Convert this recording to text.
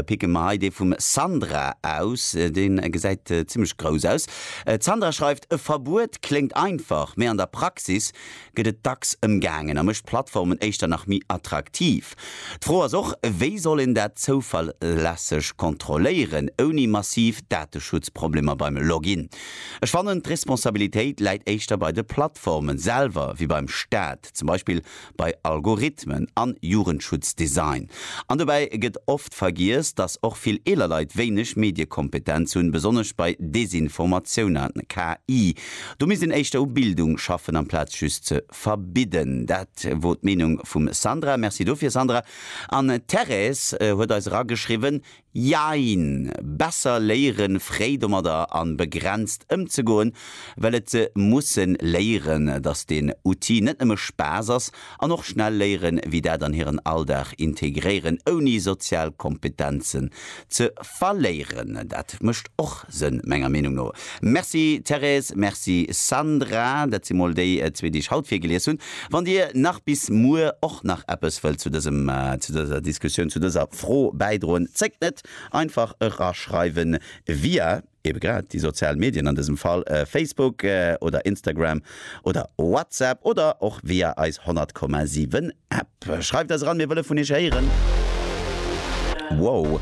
Picke mer hei dee vum Sandra aus, dee gesäit zimmlech grouss aus. D'Sandra schreift, E Verbuet kléngt einfach, mee an der Praxis gëtt et dacks ëmgaangen a mécht d'Plattformen éischter nach méi attraktiv. D'Fro ass och, wéi soll een dat zouverlässeg kontrolléieren, ouni massiv Dateschutzproblemer beim Login? Ech fannen, d'Responsabilitéit läit éischter bei de Plattformen selwer wéi beim Staat, zum Beispill bei Algorithmen an Jugendschutzdesign. An dobäi gëtt oft vergiess, dass och vill eeler Leit wéineg Mediekompetenz hunn, besonnesch bei Desinformatioun an KI. Do misst een éischter u Bildung schaffen, amplaz just ze verbidden. Dat wor d'Meenung vum Sandra. Merci dofir, Sandra. An d'Thérèse huet eis erageschriwwen, Jein! Besser léieren fréi domadder an begrenzt ëmzegoen, well et se mussen léieren dass deen Outil net nëmme Spaass ass an och schnell léieren wéi dat an hiren Alldag integréieren ouni sozial Kompetenzen ze verléieren. Dat mécht och Sënn menger Meenung no. Merci Thérèse, merci Sandra, dat si mol déi zwee déi ech haut virgelies hunn. Wann dir nach bis muer och nach eppes wëllt zu dësem, zu dëser Diskussioun, zu dëser Fro bäidroen, zéckt net, einfach eraschreiwen via ebe grad déi sozial Medien, an dësem Fall Facebook oder Instagram oder WhatsApp oder och via eis 100,7 App. Schreift eis eran, mir wëlle vun iech héieren. Wow!